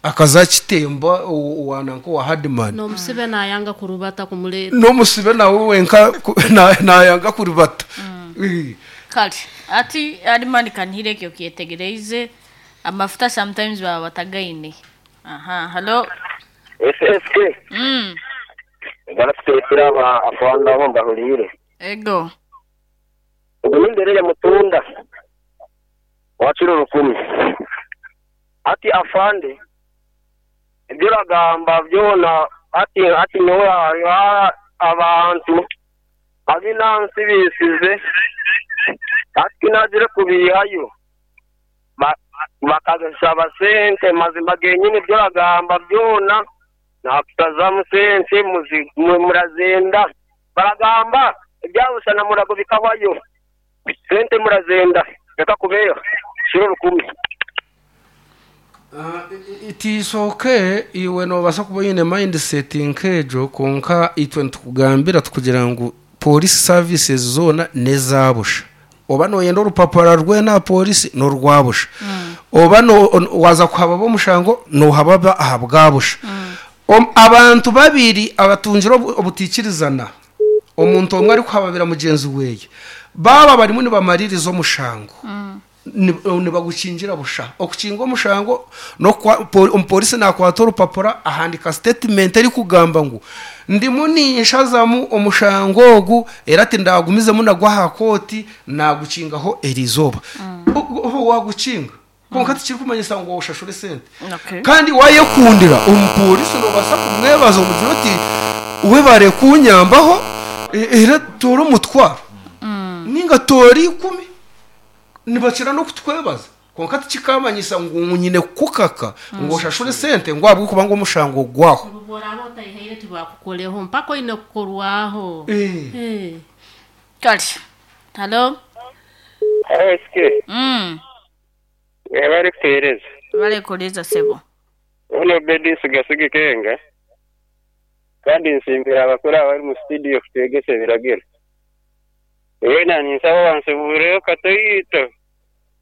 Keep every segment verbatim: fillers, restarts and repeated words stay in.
Akaza kitemba owananka owa Hardman. N'omusibe nayanga kurubata kumuleta. N'omusibe nawe wenka nayanga kurubata. Mm. Kale ati Hardman kanhire ekyo kyetegereize amafuta sometimes baba batagaine. Aha, hello. S S K. Mm. Barakuteetera aba afanda abo mbahuriire. Ego. Ogunimberere mutunda. Wakiro rukumi. Ati afande ebyo ragamba byona ati ati nyowe abantu abinansi bisize ati nagire kubihayo bakazisaba sente mazima genyine byo ragamba byona nakutazamu sente murazenda baragamba ebyabusana murago bikabayo sente murazenda reka kubeyo shiro rukumi. Uh, it is okay iwe nobasa kuba yine mindset nkejo konka itwe ntukugambira tukugira ngu police services zona nezabusha oba noyenda orupapura rwe na polisi norwabusha mm. Oba no waza kuhaba bo mushango no hababa ahabwabusha mm. um, abantu babiri abatungira obutikirizana omuntu omwe ari kuhababira mugenzi weye baba barimo nibamaririza omushango mm. Nibagukingira busha okukinga omushango no omupolisi nakwata orupapura ahandika statement eri kugamba ngu ndimu ninshazamu omushango ogu era ati ndagumizemu nagwa aha kooti nagukingaho erizoba oho wagukinga konka tikiri kumanyisa ngu oshashure sente. Kandi wayekundira omupolisi nobasa kumwebaza omugira oti webare kunyambaho era tora omutwaro ninga tora ikumi nibakira no kutwebaza konka tikikamanyisa ngu nyine kukaka ngo oshashure sente ngo abwo kuba ngo omushango gwaho borabo tayihaire tibakukoleho mpaka ine kukorwaho eh eh kali hello S K mm bari kutereza bari kureza sebo ono bedi sigasige kenga kandi nsimbira abakora abari mu studio kutegese biragera wena ninsaba bansibureyo katoyito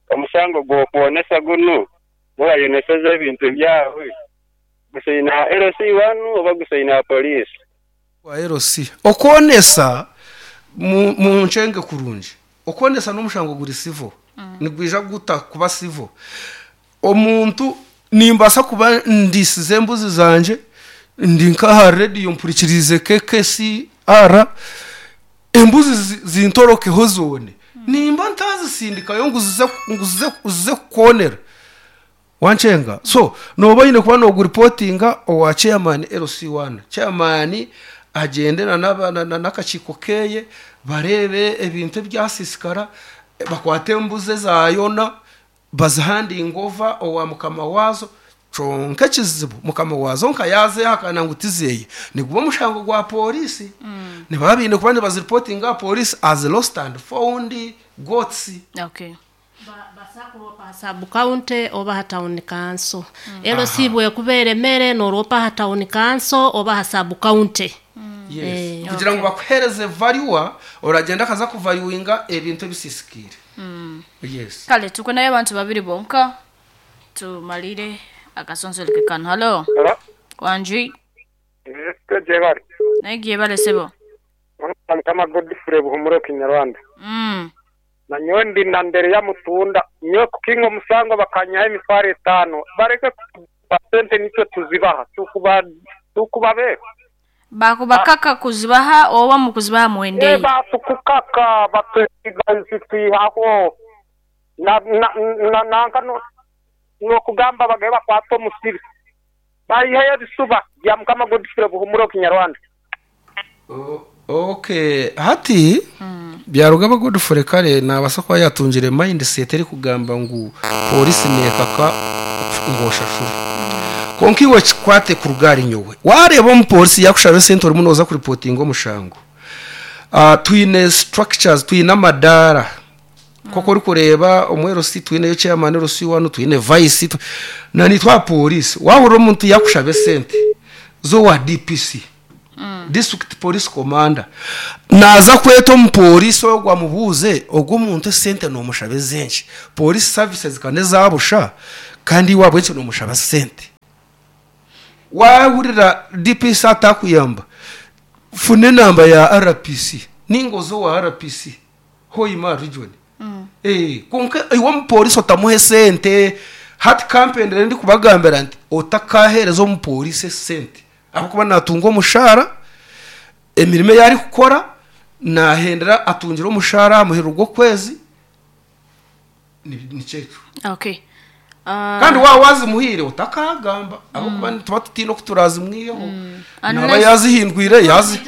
omusango gwokwonesa gunu mubayoneseza ebintu byawe gusaina L C one oba gusaina police wa L C okwonesa mu nchenge kurungi okwonesa n'omushango guri civil mm. Nigwija guta kuba civil omuntu nimbasa kuba ndisize embuzi zanje ndi nkaha radio mpurikirize K K C R embuzi zintorokeho zone mm. Nimba ntazisindika yo nguzize nguzize uzize kukonera wanchenga so noba yine kuba no reportinga owa chairman L C one chairman agendera n'akakiko keye barebe ebintu byasisikara bakwate embuze zayona bazihandinga over owa mukama wazo conka kizibu mukama wazo nka yaze hakana ngutizeye niguba mushango gwa polisi mm. Nibabinde kuba nibazireportinga police as lost and found goats. Okay. Basakuropa sub county oba town council mm. Elo sibwe kubere mere noropa town council oba sub county mm. Yes eh, kugira ngo bakuhereze value oragenda kaza kuvaluinga ebintu ebisisikire mm. Yes kale tuko nayo abantu babiri bonka tumalire akasonsoleke kano. Hello. Hello. Wanji. Jebari. Nagiye bale sebo. Kama Godfrey Buhumuro Kinyarwanda. Mm. Na nyondi na ndere ya mutunda nyo kukingo musango bakanyaho emitwaro etano bareke sente nicyo tuzibaha tukuba tukubabe bakubakaka kuzibaha oba mu kuzibaha muwendeye eh batukukaka batusigaho na na na nanka no nokugamba bagaye bakwata omusiri bayihayo bisuba bya mukama Godfrey Buhumuro Kinyarwanda. Okay hati mm. Byarugaba Godfrey kare nabasa kwa yatungire mindset eri kugamba ngu polisi nekaka ngoshashuri mm. Konka iwe kikwate kurugari nyowe wareba omupolisi yakushabe sente orimu noza kuripotinga omushango uh, twine structures twine amadara mm. Koko ori kureba omwero si twine chairman L C one twine vice na nitwa polisi wahura omuntu yakushabe sente zo wa D P C mm. District Police Commander naza kweta omupolisi ogwa mubuze ogwo omuntu sente nomushabe zenshi police services kane zabusha kandi wabwe cyo nomushaba sente Wahurira D P C atakuyamba, funa enamba ya R P C ningozo wa R P C Hoima region. mm. Eh, konka iwe omupolisi otamuhe sente. Hati kampendere ndi kubagambira nti otakahereza omupolisi sente ahakuba natunga omushara, emirimo yari kukora nahendera atungira omushara amuhera ogw'okwezi ni cyecu. Okay. Uh, kandi wa wazimuhire utakagamba abo kuba tuba tutino kuturazimwiyeho naba yazihindwire yazi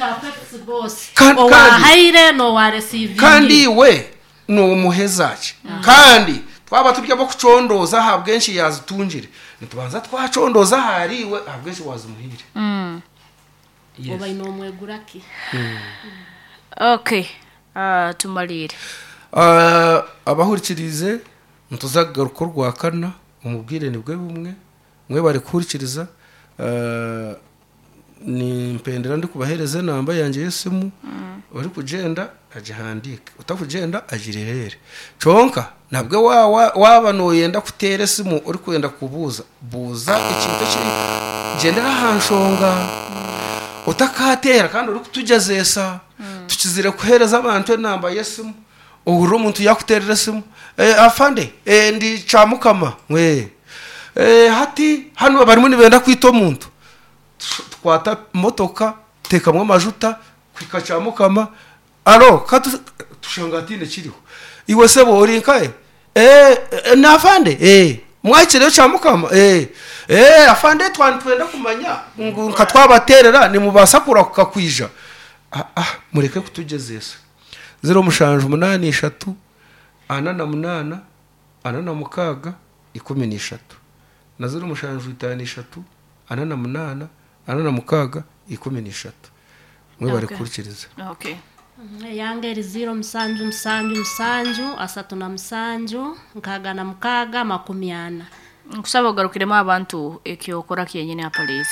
owahaire no wa receive kandi we no muhezache kandi twaba turya bo kucondoza ahabwenshi yazitungire nitubanza twacondoza hariwe ahabwenshi wazimuhire. Mm. Yes. Oba ino mweguraki. Mm. Okay. Uh, tumalire. Uh, abahurikirize ntuzagaruka rwa kana umubwire nibwe bumwe mwe bari kuhurikiriza. Uh, ni mpendera ndi kubahereza namba yanjye yesimu. Mm. Uri kugenda agihandike, utakugenda agirerere conka nabwe waba noyenda kutere simu uri kwenda kubuza buza ikintu kiri gendera hanshonga utakatera kandi uri kutujazesa. Mm. Tukizire kuhereza abantu enamba yesimu uhuru omuntu yakuterera simu eh, afande eh, ndi chamukama we eh, hati hano barimo nibenda kwita omuntu twata motoka tekamwe amajuta kwika chamukama aro katu tushangatine kiriho iwe sebo uri nkaye eh, eh na afande eh mwakire chamukama eh eh afande twantwenda kumanya nka twabaterera ni mubasa kurakuka kwija. Ah, ah mureke kutugezesa zero mushanju munani eshatu ana na munana ana na mukaga ikumi n'eshatu na zero mushanju itanu eshatu ana na munana ana na mukaga ikumi n'eshatu mwe bari kurikiriza. Okay. Yange zero musanju musanju musanju asatu na musanju nkaga na mukaga makumi ana. Nkusaba ogarukiremo abantu ekyokora kyenyine ya police.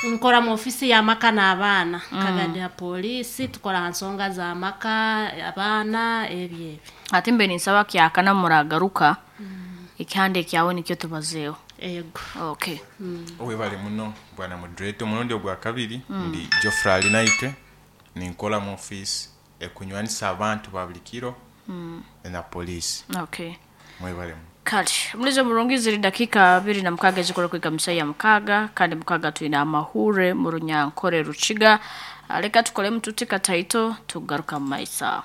Nkora mu ofisi ya maka n'abaana. Mm. Kagadi ya polisi tukora nsonga za maka abaana ebye ebi. Ati mbe ninsaba kyakana muragaruka. Mm. Ikihande kyawe nikyo tubazeho. Ego. Okay. Mm. Owe bali muno bwana moderator munondi ogwa kabiri. Mm. Ndi Geoffrey Alinaite ninkola mu office ekunywanisa abantu babulikiro. Mm. Na polisi. Okay. Mwebale. Kale, mulizo murungi ziri dakika abiri na mukaga zikora kwiga misaya mukaga kandi mukaga tuina amahure mu Runyankore Rukiga. Reka tukole mtutika taito tugaruka mu maisa.